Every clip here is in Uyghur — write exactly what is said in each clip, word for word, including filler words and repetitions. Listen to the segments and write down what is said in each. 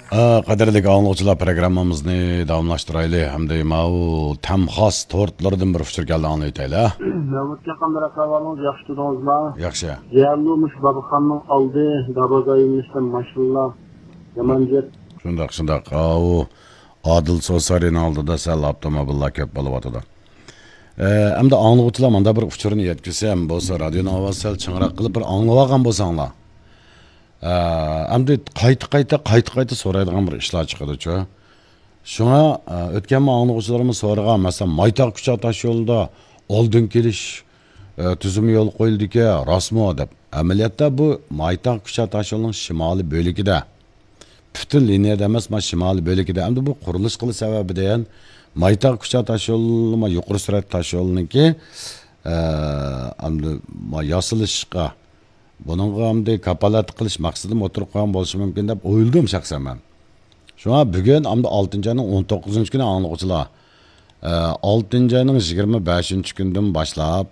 ئا، قەدىرلىك ئاڭلىغۇچىلار، پروگراممىمىزنى داۋاملاشتۇرايلى ھەمدە ماۋۇ تەم خاس تورتلىرىدىن بىر ئۇچۇر كەلدى، ئاڭلاۋېتەيلى. مەمۇت ئاكام، بىر ئەھۋالىڭىز ياخشى تۇردىڭىزما؟ ياخشى. جەلۇ مۇشۇ بابىخاننىڭ ئالدى، دابازايمىشتا ماشىنىلار يامان جىق. شۇنداق، شۇنداق. ئاۋۇ ئادىل سوسارىنىڭ ئالدىدا سەل ئاپتوموبىللار كۆپ بولۇۋاتىدۇ. ئە، ئەمدى ئاڭلىغۇچىلار ماندا بىر ئۇچۇرنى يەتكۈزسەم بولسا، رادىيونىڭ ئاۋازى سەل چىڭراق قىلىپ بىر ئاڭلىۋالغان بولساڭلار. ئە، ئەمدى قايتا، قايتا، قايتا، قايتا سورايدىغان بىر ئىشلار چىقىدۇچۇ. شۇڭا، ئە، ئۆتكەنمۇ ئاڭلىغۇچىلىرىمىز سورىغان، مەسىلەن، مايتاغ كۇچا تاشيولىدا ئالدىن كېلىش، ئە، تۈزۈمى يولغا قويۇلدىكەن، راستمۇ دەپ. ئەمەلىيەتتە بۇ مايتاغ كۇچا تاشيولىنىڭ شىمالىي بۆلىكىدە. پۈتۈن لىنىيەدە ئەمەس، مانا شىمالىي بۆلىكىدە. ئەمدى بۇ قۇرۇلۇش قىلىش سەۋەبىدىن مايتاغ كۇچا تاشيولى، مانا يۇقىرى سۈرئەت تاشيولىنىڭكى، ئە، ئەمدى مانا ياسىلىشقا، بۇنىڭغا ئەمدى كاپالەتلىك قىلىش مەقسىتىمۇ ئوتتۇرىغا قويغان بولۇشى مۇمكىن دەپ ئويلىدىم شەخسەن مەن. شۇڭا بۈگۈن ئەمدى ئالتىنچى ئاينىڭ ئون توققۇزىنچى كۈنى ئاڭلىغۇچىلار، ئە، ئالتىنچى ئاينىڭ يىگىرمە بەشىنچى كۈنىدىن باشلاپ،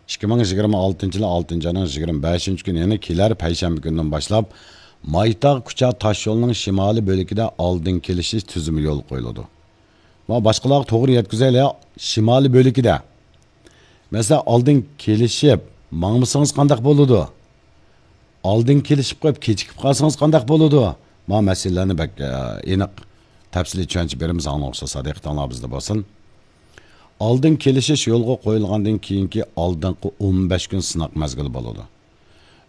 ئىككى مىڭ يىگىرمە ئالتىنچى يىلى ئالتىنچى ئاينىڭ يىگىرمە بەشىنچى كۈنى، يەنى كېلەر پەيشەنبە كۈنىدىن باشلاپ، مايتاغ كۇچا تاشيولىنىڭ شىمالىي بۆلىكىدە ئالدىن كېلىشىش تۈزۈمى يولغا قويۇلىدۇ. مانا باشقىلارغا توغرا يەتكۈزەيلى، شىمالىي بۆلىكىدە. مەسىلەن، ئالدىن كېلىشىپ ماڭمىسىڭىز قانداق بولىدۇ؟ ئالدىن كېلىشىپ قويۇپ، كېچىكىپ قالسىڭىز قانداق بولىدۇ؟ مانا مەسىلىلەرنى بەك، ئە، ئېنىق، تەپسىلىي چۈشەنچە بېرىمىز، ئاڭلىغۇچىلار، سادىقىتىڭلار بىزدە بولسۇن. ئالدىن كېلىشىش يولغا قويۇلغاندىن كېيىنكى ئالدىنقى ئون بەش كۈن سىناق مەزگىلى بولىدۇ.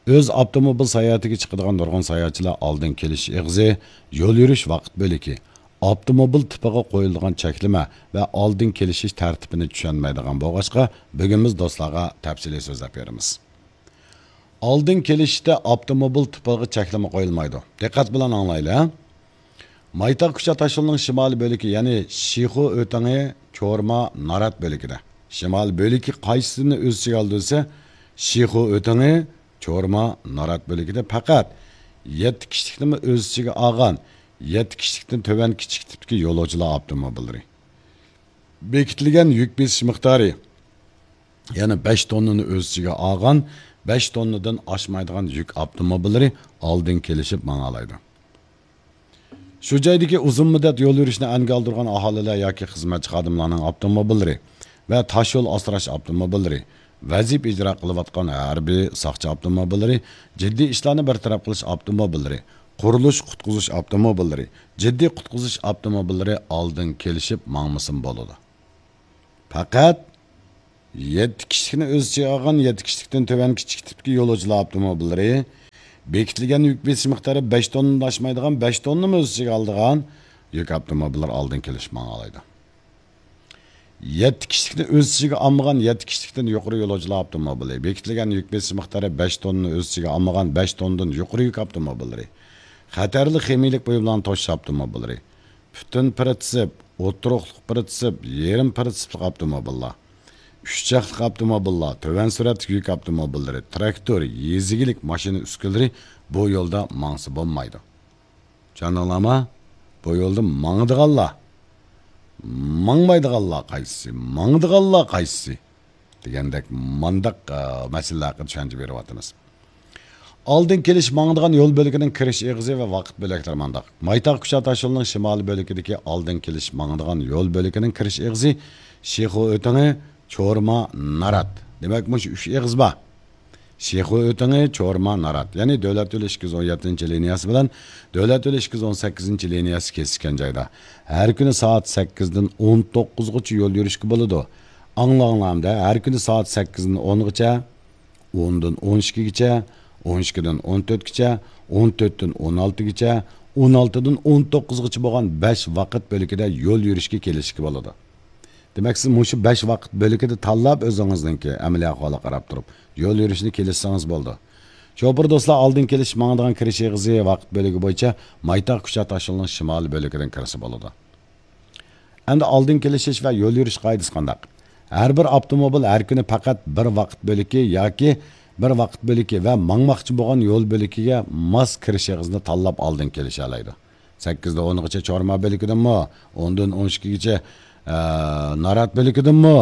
ئۆز ئاپتوموبىل ساياھىتىگە چىقىدىغان نۇرغۇن ساياھەتچىلەر ئالدىن كېلىش ئېغىزى، يول يۈرۈش ۋاقىت بۆلىكى، ئاپتوموبىل تىپىغا قويۇلىدىغان چەكلىمە ۋە ئالدىن كېلىشىش تەرتىپىنى چۈشەنمەيدىغان بولغاچقا، بۈگۈن بىز دوستلارغا تەپسىلىي سۆزلەپ بېرىمىز. ئالدىن كېلىشتە ئاپتوموبىل تىپىغا چەكلىمە قويۇلمايدۇ. دىققەت بىلەن ئاڭلايلى، ھە؟ مايتاغ كۇچا تاشيولىنىڭ شىمالىي بۆلىكى، يەنى شىخۇ ئۆتىڭى، چورما، نارات بۆلىكىدە. شىمالىي بۆلىكى قايسىسىنى ئۆز ئىچىگە ئالىدۇ دېسە، شىخۇ ئۆتىڭى، چورما، نارات بۆلىكىدە پەقەت يەتتە كىشىلىكنىمۇ ئۆز ئىچىگە ئالغان، يەتتە كىشىلىكتىن تۆۋەن كىچىك تىپتىكى يولۇچىلار ئاپتوموبىللىرى. بېكىتىلگەن يۈك بېسىش مىقدارى، يەنى بەش توننىنى ئۆز ئىچىگە ئالغان، بەش توننىدىن ئاشمايدىغان يۈك ئاپتوموبىللىرى ئالدىن كېلىشىپ ماڭالايدۇ. شۇ جايدىكى ئۇزۇن مۇددەت يول يۈرۈشنى ئەنگە ئالدۇرغان ئاھالىلەر ياكى خىزمەتچى خادىملارنىڭ ئاپتوموبىللىرى ۋە تاش يول ئاسراش ئاپتوموبىللىرى، ۋەزىپە ئىجرا قىلىۋاتقان ھەربىي، ساقچى ئاپتوموبىللىرى، جىددىي ئىشلارنى بىر تەرەپ قىلىش ئاپتوموبىللىرى، قۇرۇلۇش، قۇتقۇزۇش ئاپتوموبىللىرى، جىددىي قۇتقۇزۇش ئاپتوموبىللىرى ئالدىن كېلىشىپ ماڭمىسىمۇ بولىدۇ. پەقەت يەتتە كىشىلىكنى ئۆز ئىچىگە ئالغان، يەتتە كىشىلىكتىن تۆۋەن كىچىك تىپتىكى يولۇچىلار ئاپتوموبىللىرى، بېكىتىلگەن يۈك بېسىش مىقدارى بەش توننىدىن ئاشمايدىغان، بەش توننىمۇ ئۆز ئىچىگە ئالىدىغان يۈك ئاپتوموبىللىرى ئالدىن كېلىشىپ ماڭالايدۇ. يەتتە كىشىلىكنى ئۆز ئىچىگە ئالمىغان، يەتتە كىشىلىكتىن يۇقىرى يولۇچىلار ئاپتوموبىلى، بېكىتىلگەن يۈك بېسىش مىقدارى بەش توننىنى ئۆز ئىچىگە ئالمىغان، بەش توننىدىن يۇقىرى يۈك ئاپتوموبىللىرى، خەتەرلىك خىمىيىلىك بۇيۇملارنى توشۇش ئاپتوموبىللىرى، پۈتۈن پىرىتسىپ، ئوتتۇرىلىق پىرىتسىپ، يېرىم پىرىتسىپلىق ئاپتوموبىللار، ئۈچ چاقلىق ئاپتوموبىللار، تۆۋەن سۈرئەتلىك يۈك ئاپتوموبىللىرى، تىراكتور، يېزا ئىگىلىك ماشىنا ئۈسكۈنىلىرى بۇ يولدا ماڭسا بولمايدۇ. چۈشەندىڭلارمۇ؟ بۇ يولدا ماڭىدىغانلار، ماڭمايدىغانلار قايسىسى؟ ماڭىدىغانلار قايسىسى؟ دېگەندەك مانداق، ئە، مەسىلىلەر ھەققىدە چۈشەنچە بېرىۋاتىمىز. ئالدىن كېلىش ماڭىدىغان يول بۆلىكىنىڭ كىرىش ئېغىزى ۋە ۋاقىت بۆلەكلىرى مانداق. مايتاغ كۇچا تاشيولىنىڭ شىمالىي بۆلىكىدىكى ئالدىن كېلىش ماڭىدىغان يول بۆلىكىنىڭ كىرىش ئېغىزى شىخۇ ئۆتىڭى، چورما، نارات. دېمەك، مۇشۇ ئۈچ ئېغىز بار. شىخۇ ئۆتىڭى، چورما، نارات. يەنى دۆلەت يولى ئىككى يۈز ئون يەتتىنچى لىنىيەسى بىلەن دۆلەت يولى ئىككى يۈز ئون سەككىزىنچى لىنىيەسى كېسىشكەن جايدا ھەر كۈنى سائەت سەككىزدىن ئون توققۇزغىچە يول يۈرۈشكە بولىدۇ. ئاڭلاڭلار ئەمدى، ھەر كۈنى سائەت سەككىزدىن ئونغىچە، ئوندىن ئون ئىككىگىچە، ئون ئىككىدىن ئون تۆتكىچە، ئون تۆتتىن ئون ئالتىگىچە، ئون ئالتىدىن ئون توققۇزغىچە بولغان بەش ۋاقىت بۆلىكىدە يول يۈرۈشكە كېلىشكە بولىدۇ. دېمەك، سىز مۇشۇ بەش ۋاقىت بۆلىكىدە تاللاپ ئۆزىڭىزنىڭكى ئەمەلىي ئەھۋالىغا قاراپ تۇرۇپ يول يۈرۈشنى كېلىشسىڭىز بولىدۇ. شوپۇر دوستلار ئالدىن كېلىش ماڭىدىغان كىرىش ئېغىزى ۋاقىت بۆلىكى بويىچە مايتاغ كۇچا تاشيولىنىڭ شىمالىي بۆلىكىدىن كىرسە بولىدۇ. ئەمدى ئالدىن كېلىشىش ۋە يول يۈرۈش قائىدىسى قانداق؟ ھەر بىر ئاپتوموبىل ھەر كۈنى پەقەت بىر ۋاقىت بۆلىكى ياكى بىر ۋاقىت بۆلىكى ۋە ماڭماقچى بولغان يول بۆلىكىگە ماس كىرىش ئېغىزىنى تاللاپ ئالدىن كېلىشەلەيدۇ. سەككىزدىن ئونغىچە چورما بۆلىكىدىنمۇ، ئوندىن ئون ئىككىگىچە، ئە، نارات بۆلىكىدىنمۇ،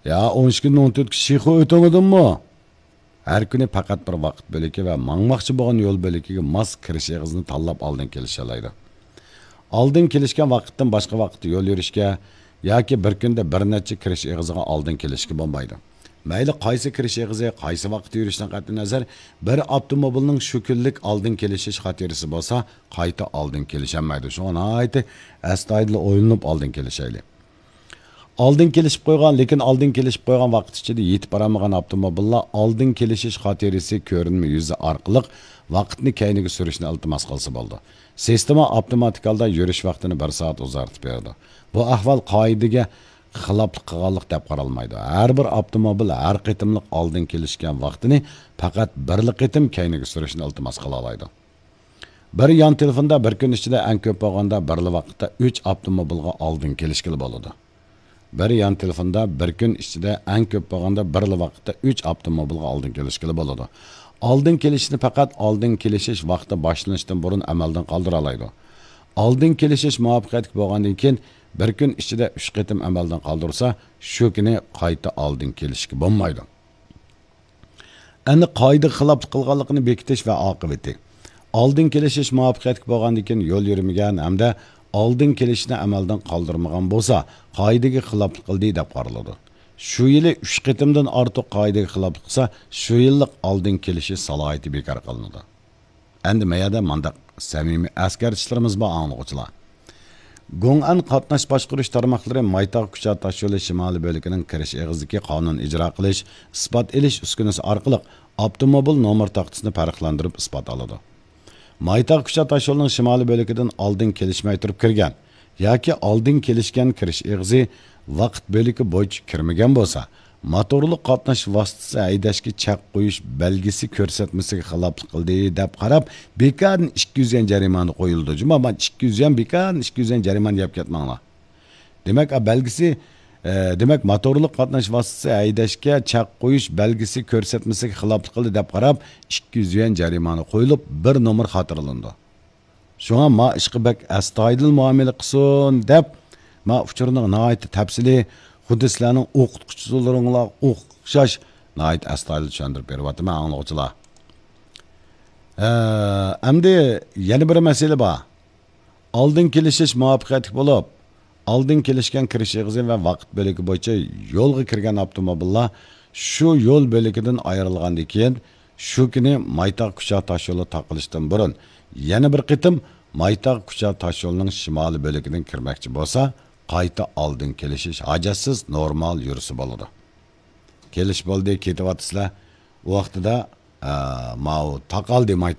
يا ئون ئىككىدىن ئون تۆتكە شىخۇ ئۆتۈڭىدىنمۇ، ھەر كۈنى پەقەت بىر ۋاقىت بۆلىكى ۋە ماڭماقچى بولغان يول بۆلىكىگە ماس كىرىش ئېغىزىنى تاللاپ ئالدىن كېلىشەلەيدۇ. ئالدىن كېلىشكەن ۋاقىتتىن باشقا ۋاقىتتا يول يۈرۈشكە ياكى بىر كۈندە بىر نەچچە كىرىش ئېغىزىغا ئالدىن كېلىشكە بولمايدۇ. مەيلى قايسى كىرىش ئېغىزى، قايسى ۋاقىتتا يۈرۈشتىن قەتئىينەزەر، بىر ئاپتوموبىلنىڭ شۇ كۈنلۈك ئالدىن كېلىشىش خاتىرىسى بولسا، قايتا ئالدىن كېلىشەلمەيدۇ. شۇڭا ناھايىتى ئەستايىدىل ئويلىنىپ ئالدىن كېلىشەيلى. ئالدىن كېلىشىپ قويغان، لېكىن ئالدىن كېلىشىپ قويغان ۋاقىت ئىچىدە يېتىپ بارالمىغان ئاپتوموبىللار ئالدىن كېلىشىش خاتىرىسى كۆرۈنمە يۈزى ئارقىلىق ۋاقىتنى كەينىگە سۈرۈشنى ئىلتىماس قىلسا بولىدۇ. سىستېما ئاپتوماتىك ھالدا يۈرۈش ۋاقتىنى بىر سائەت ئۇزارتىپ بېرىدۇ. بۇ ئەھۋال قائىدىگە خىلاپلىق قىلغانلىق دەپ قارالمايدۇ. ھەر بىر ئاپتوموبىل ھەر قېتىملىق ئالدىن كېلىشكەن ۋاقتىنى پەقەت بىرلا قېتىم كەينىگە سۈرۈشنى ئىلتىماس قىلالايدۇ. بىر يان تېلېفوندا بىر كۈن ئىچىدە ئەڭ كۆپ بولغاندا بىرلا ۋاقىتتا ئۈچ ئاپتوموبىلغا ئالدىن كېلىشكىلى بولىدۇ. بىر يان تېلېفوندا بىر كۈن ئىچىدە ئەڭ كۆپ بولغاندا بىرلا ۋاقىتتا ئۈچ ئاپتوموبىلغا ئالدىن كېلىشكىلى بولىدۇ. ئالدىن كېلىشنى پەقەت ئالدىن كېلىشىش ۋاقتى باشلىنىشتىن بۇرۇن ئەمەلدىن قالدۇرالايدۇ. ئالدىن كېلىشىش مۇۋەپپەقىيەتلىك بولغاندىن كېيىن بىر كۈن ئىچىدە ئۈچ قېتىم ئەمەلدىن قالدۇرسا، شۇ كۈنى قايتا ئالدىن كېلىشكە بولمايدۇ. ئەمدى قائىدىگە خىلاپلىق قىلغانلىقىنى بېكىتىش ۋە ئاقىۋىتى. ئالدىن كېلىشىش مۇۋەپپەقىيەتلىك بولغاندىن كېيىن يول يۈرمىگەن ھەمدە ئالدىن كېلىشنى ئەمەلدىن قالدۇرمىغان بولسا، قائىدىگە خىلاپلىق قىلدى دەپ قارىلىدۇ. شۇ يىلى ئۈچ قېتىمدىن ئارتۇق قائىدىگە خىلاپلىق قىلسا، شۇ يىللىق ئالدىن كېلىشىش سالاھىيىتى بىكار قىلىنىدۇ. ئەمدى مەيەردە مانداق سەمىمىي ئەسكەرتىشلىرىمىز بار ئاڭلىغۇچىلار. گوڭئەن قاتناش باشقۇرۇش تارماقلىرى مايتاغ كۇچا تاشيولى شىمالىي بۆلىكىنىڭ كىرىش ئېغىزىدىكى قانۇن ئىجرا قىلىش، ئىسپات ئېلىش ئۈسكۈنىسى ئارقىلىق ئاپتوموبىل نومۇر تاختىسىنى پەرقلەندۈرۈپ ئىسپات ئالىدۇ. مايتاغ كۇچا تاشيولىنىڭ شىمالىي بۆلىكىدىن ئالدىن كېلىشمەي تۇرۇپ كىرگەن ياكى ئالدىن كېلىشكەن كىرىش ئېغىزى ۋاقىت بۆلىكى بويىچە كىرمىگەن بولسا، موتورلۇق قاتناش ۋاسىتىسى ھەيدەشكە چەك قويۇش بەلگىسى كۆرسەتمىسىگە خىلاپلىق قىلدى دەپ قاراپ، بىكاردىن ئىككى يۈز يۈەن جەرىمانە قويۇلىدۇ. جۇما، مانا ئىككى يۈز يۈەن، بىكاردىن ئىككى يۈز يۈەن جەرىمانە يەپ كەتمەڭلار. دېمەك، ئا، بەلگىسى، ئە، دېمەك، موتورلۇق قاتناش ۋاسىتىسى ھەيدەشكە چەك قويۇش بەلگىسى كۆرسەتمىسىگە خىلاپلىق قىلدى دەپ قاراپ، ئىككى يۈز يۈەن جەرىمانە قويۇلۇپ، بىر نومۇر خاتىرىلىنىدۇ. شۇڭا ما ئىشقا بەك ئەستايىدىل مۇئامىلە قىلسۇن دەپ، ما ئۇچۇرنىڭ ناھايىتى تەپسىلىي، خۇددى سىلەرنىڭ ئوقۇتقۇچىلىرىڭلارغا ئوخشاش ناھايىتى ئەستايىدىل چۈشەندۈرۈپ بېرىۋاتىمەن ئاڭلىغۇچىلار. ئە، ئەمدى يەنە بىر مەسىلە بار. ئالدىن كېلىشىش مۇۋەپپەقىيەتلىك بولۇپ، ئالدىن كېلىشكەن كىرىش ئېغىزى ۋە ۋاقىت بۆلىكى بويىچە يولغا كىرگەن ئاپتوموبىللار شۇ يول بۆلىكىدىن ئايرىلغاندىن كېيىن، شۇ كۈنى مايتاغ كۇچا تاشيولى تاقىلىشتىن بۇرۇن يەنە بىر قېتىم مايتاغ كۇچا تاشيولىنىڭ شىمالىي بۆلىكىدىن كىرمەكچى بولسا، قايتا ئالدىن كېلىشىش ھاجەتسىز نورمال يۈرسە بولىدۇ. كېلىش بولدى، كېتىۋاتىسىلەر. ئۇ ۋاقتىدا، ئە، ماۋۇ تاقالدى مايتاغ